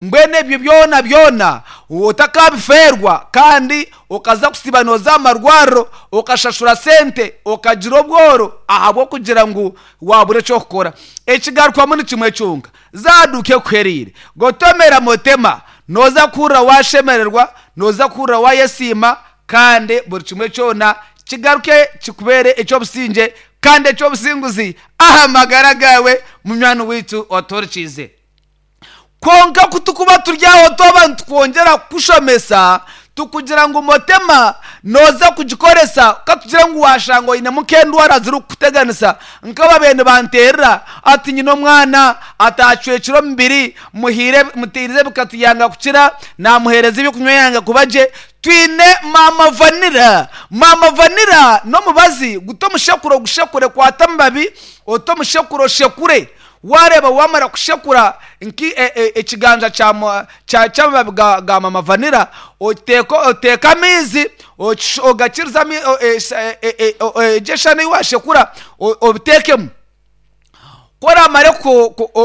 Mbwenu ebyo byona byona otakabifeerwa kandi okaza kusiiba nooza aha marwariro okashashura sente okagira obworo ahabw'okugira ngu waabura eky'okukora. Ekigarukwamu ni kimwe kyonka, zaaduuka ekuhereire. Gotomera motema, nooza kuhurira waashemererwa, nooza kuhurira waayesiima kandi buri kimwe kyona kigaruke kikubeere eky'obusingye kandi eky'obusinguzi aha magara gaawe munywani waitu otuhurikiize. Kwonka ku turikuba turi aho twaba nitukwongyera kukushomesa, tukugira ngu motema nooza kugikoresa ka tugire ngu waashanga oinemu nk'endwara zirikukuteganisa nk'ababaire nibanteerera ati nyine omwana ataacwekire omubiri muhaire muteerize ebikatu yanga kukira, naamuheereza ebyokunywa yanga kuba gye. Twine maama vanira. Maama vanira n'omubazi gute omushekuro ogushekure kwata amababi ote omushekuro oshekure. Waareeba waamara kushekura nk'ekiganja ky'amababi ga mama vanira, oteeke amaizi ogakirize egyo eshano ei waashekura obiteekemu. Ku oraamare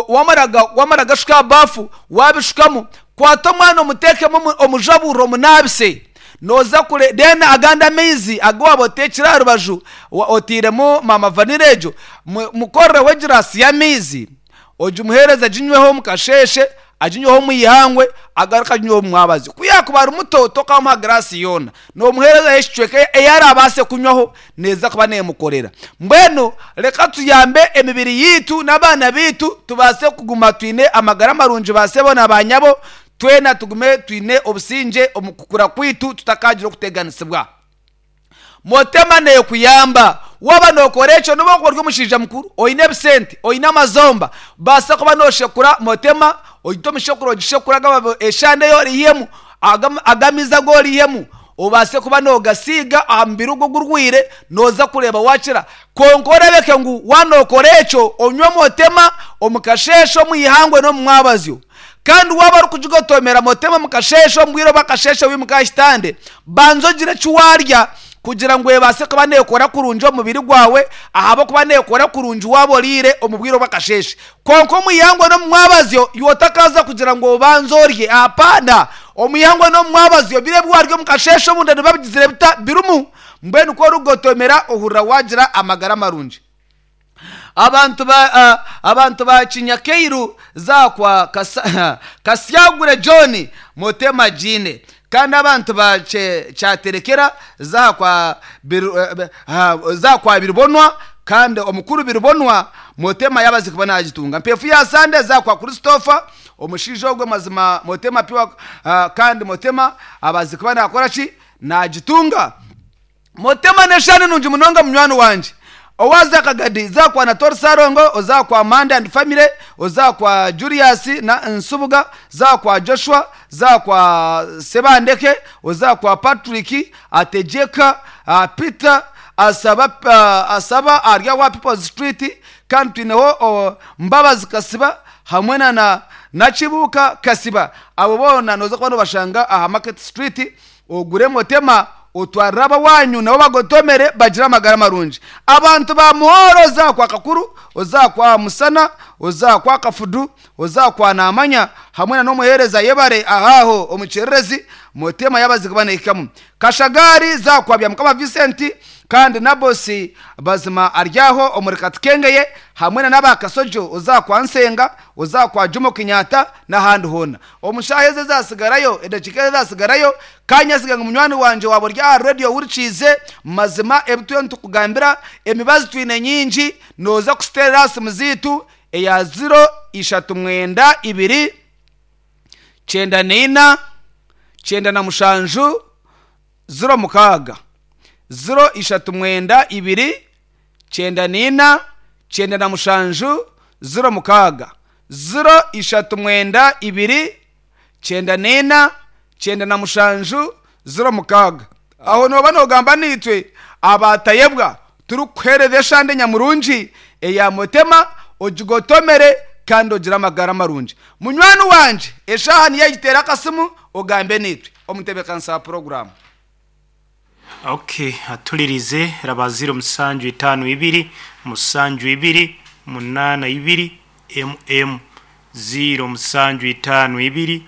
waamara kugashuka aha baafu waabishukamu, kwata omwana omuteekemu omujaburire omunaabise. Nooza kure then agandi amaizi agu waaba oteekire aha rubaju otairemu maama vanilla egyo, mukorereho egiraasi y'amaizi ogimuheereze aginyweho omu kasheeshe, aginyweho omu ihangwe, agaruke aginyweho omu mwabazyo. Ku yaakuba ari muto tokamuha giraasi yoona, noomuheerezaho ekicweka ei araabaase kunywaho neeza kuba neemukorera. Mbwenu reka tuyambe emibiri yaitu n'abaana baitu tubaase kuguma twine amagara marungi baasebo na baanyabo. Twena tugume twine obusingye omu kukura kwaitu tutakaagira okuteganisibwa. Motema neekuyamba waaba nookora ekyo n'obu wakuba ori omushaija mukuru, oine ebisente, oine amazomba, baasa kuba nooshekura motema, ogite omu shekuro ogishekure agababi eshande ei oriihemu, ago amaizi agu oriihemu obaase kuba noogasiiga aha mubiri ogwo ogurwaire nooza kureeba waakira. Kwonka orebeke ngu waaba nookora ekyo onywe motema omu kasheeshe, omu ihangwe n'omu mwabazyo. Kandi waaba orikugigotomera motema omu kasheeshe, omu bwire obw'akasheeshe wimuka aha kitande, banza ogire eki waarya kugira ngu ebaase kuba neekora kurungi omu mubiri gwawe ahabw'okuba neekora kurungi waaba oriire omu bwire obw'akasheeshe. Kwonka omu ihangwe n'omu mwabazyo, iwe otakaaza kugira ngu obanze orye. Hapana! Omu ihangwe n'omu mwabazyo, biri ebi waarya omu kasheeshe omunda nibiba bigizire bita? Birimu. Mbwenu ku orikugotomera ohurira waagira amagara marungi. Abantu ba abantu ba Kinyakairu zakwa Kasyagure John Motema Jine kandi abantu ba Kyaterekera zakwa zakwa Biribonwa kandi omukuru Biribonwa Motema yabaze kuba nagitunga. Mpefu ya Sande zakwa Christopher omushaija ogwe mazima Motema pure kandi Motema abaze kuba nakora ki nagitunga. Motema n'eshaani nungi munonga munywani wangye. Owaaza Kagadi, za kwa Natori Ssalongo, oza kwa Mande and family, oza kwa Julius na Nsubuga, za kwa Joshua, za kwa Sebandeke, oza kwa Patrick, Ategyeka, Peter, Asaba, Asaba ari awa People's Street, kandi twineho Mbabazi Kasiba hamwe na Nakibuuka Kasiba. Abo boona nooza kuba noobashanga aha Market Street. Ogure motema otwarire abawanyu nabo bagotomere bagire amagara marungi. Abantu ba Muhoro oza kwa Kakuru, oza kwa Musana, oza kwa Kafudu, oza kwa Namanya hamwe na n'omuhereza Yebare ahaaho omu kyererezi motema yabazigu banehikamu. Kashagari za kwa Byamukama Vincent kandi Nabosi Bazima ari aho omuri Katukengeye hamwe na n'aba Kasojo oza kwa Nsenga, oza kwa Jomo Kenyatta n'ahandi hoona. Omu shaaha ezi ezaatsigarayo, edakiika ezi ezaatsigarayo, ka nyesiga ngu munywani wangye waaba ori aha reediyo ohurikiize, mazima ebi turiyo nitukugambira, emibazi twine nyingi, nooza kusiteerera aha simu zaitu eya ziro ishatu mwenda ibiri, kyenda naina, kyenda na mushanju, 06, 0 3 9 2, 94, 97, 06, 0 3 9 2, 94, 97, 06. Aho nooba noogamba naitwe abaatayebwa turikukuheereza eshande nyamurungi eya Motema ogigotomere kandi ogire amagara marungi. Munywani wangye eshaaha niyo egiteera akasimu ogambe naitwe. Omutebeekanisa wa puroguraamu. Ok atulirize raba ziro musanju itano ibiri musanju ibiri munana ibiri emu emu. 0752.